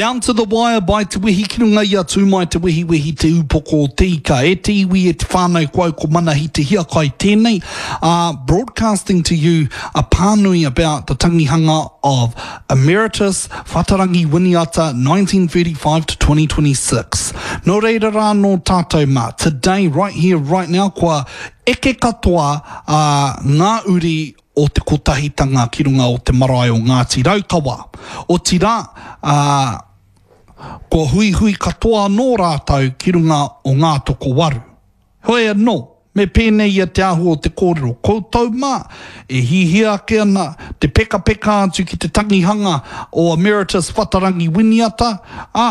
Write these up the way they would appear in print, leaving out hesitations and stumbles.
Down to the wire by Te Wehi ki runga i a Tūmai Te Wehiwehi Te Ūpoko o Te Ika. E te iwi, e te whānau, ko au ko Manahi Te Hiakai tēnei, ā, broadcasting to you a pānui about the tangihanga of Emeritus Whatarangi Winiata 1935 to 2026. Nō reira rā nō tātou mā, today, right here, right now, kua eke katoa ā, ngā uri o te Kotahitanga ki runga o te marae o Ngāti Raukawa. Otirā, ā, kua huihui katoa anō rātou ki runga o Ngātokowaru. Heoi anō, me pēnei ia te āhua o te kōrero, koutou mā, e hihia ake ana te pekapeka atu ki te tangihanga o Emeritus Whatarangi Winiata, ā,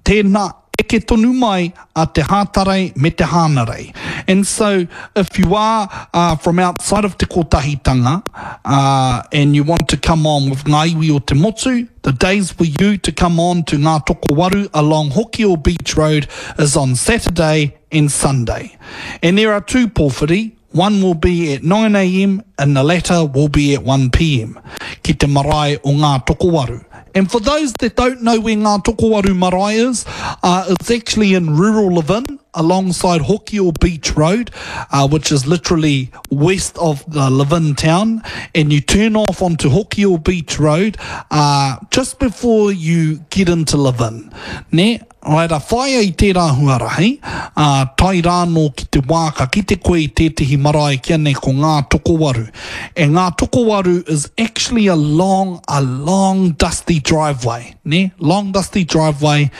Tēnā, eke tonu mai a te Hātarei me te Hānarei. And so, if you are uh, from outside of Te Kotahitanga uh, and you want to come on with Ngā Iwi o Te Motu, the days for you to come on to Ngā Tokowaru along Hokio Beach Road is on Saturday and Sunday. And there are two pōwhiri, One will be at 9am and the latter will be at 1pm ki te marae o Ngā Tokowaru. And for those that don't know where Ngā Tokowaru marae is, uh, it's actually in rural Levin alongside Hokio Beach Road, uh, which is literally west of the Levin town, and you turn off onto Hokio Beach Road uh, just before you get into Levin. Ne? Raira, whāia i tērā huarahi, ā, tae rānō ki te wā ka kite koe i tētehi marae kia nei ko Ngā Tokowaru. And Ngā Tokowaru is actually a long, a long dusty driveway, nē? Long dusty driveway,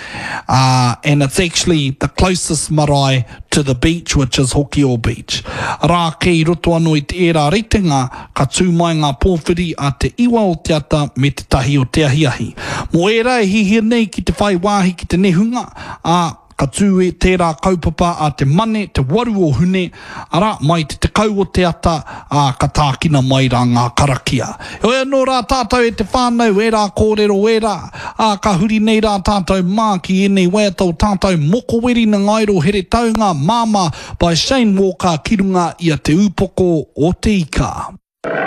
ā, and it's actually the closest marae to the beach, which is Hokio Beach. Arā ake i roto anō i te ērā ritenga, Ka tū mai ngā pōwhiri a te iwa o te ata me te tahi o te ahiahi. Mō ērā e hihia nei ki te whai wāhi ki te nehunga, ā, ka tū e tērā kaupapa a te Mane, te waru o Hune, arā, mai te tekau o te ata, ā, ka tākina mai rā ngā karakia. Heoi anō rā tātou e te whānau, ērā kōrero ērā, ā, ka huri nei rā tātou mā ki ēnei waiata o tātou Mokoweri Nangairo Heretaunga, Māmā, by Shane Walker ki runga i a Te Ūpoko o Te Ika.